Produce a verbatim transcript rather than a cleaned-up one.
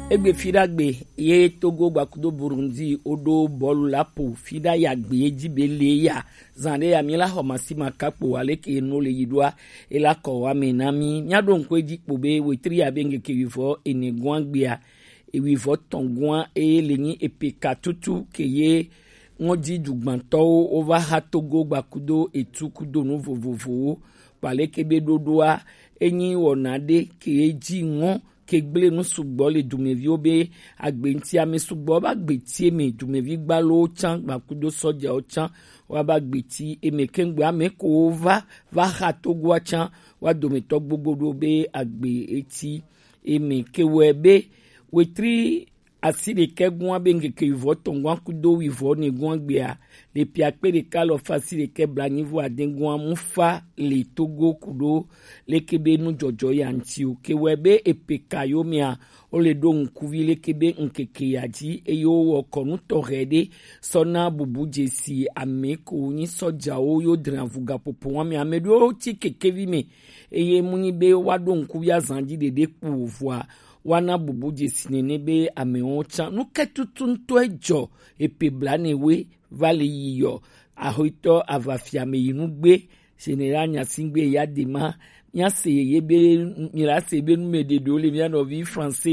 Egbe fidagbe ye Togo gbakudo Burundi odo bɔlu la po fida ya gbe ye ji be le ya. Zan ɖe ya mi la xɔ masi ma kakpo aleke no le yi ɖoa, e la kɔ wa me na mi. Mia ɖo ŋkɔ edzi kpo be wetri ya be ŋkeke wivɔ ene gua gbea, ewivɔ tɔn gua e le nyi epeka tutu ke ye ŋɔdzi dugbantɔwo wova xa Togo gbakudo etu kudo nu vovovowo. Kpaleke be ɖoɖoa, enyi wɔna ɖe ke ye dzi ŋɔ ke gblẽ nu sugbɔ le dumeviwo be agbe ŋuti. Ame sugbɔ va gbeti eme, dumevi gbalowo tsã gbakudo sɔjawo tsã wa va gbeti eme. Kengbe ame ko va va xa Togoa tsã wa dometɔ gbogbo ɖo be agbe eti eme. Ke wɔe be wetri asi ɖekɛ gua be ŋkeke wivɔ tɔn gua kudo wivɔ ne gua gbea, le piakpe ɖeka lɔ fa asi ɖekɛ blanyivo ade gua mu fa le Togo kudo leke be nu jɔjɔ ya ŋuti o. Ke wɔe be epeka yo mea, wo le ɖo ŋkuvi leke be ŋkeke ya dzi eye wo wɔ kɔnu tɔxɛ ɖe sɔ na bubu dzesi ame ko nyi sɔjawo yo dra vuga popo wa me. Ame ɖewo tsi kekevi me eye mu nyi be wa ɖo ŋkuvi azan dzi ɖeɖe kpo vɔa wa na bubu dzesi nene be amewo tsã. Nu ke tutu ŋutɔ edzɔ epe blane we va le yi yɔ. Ahoitɔ avafia me yi nugbe Général Nyasingbe ya de ma. Mia se ye be, mi la se be nu me ɖeɖewo le mia nɔvi français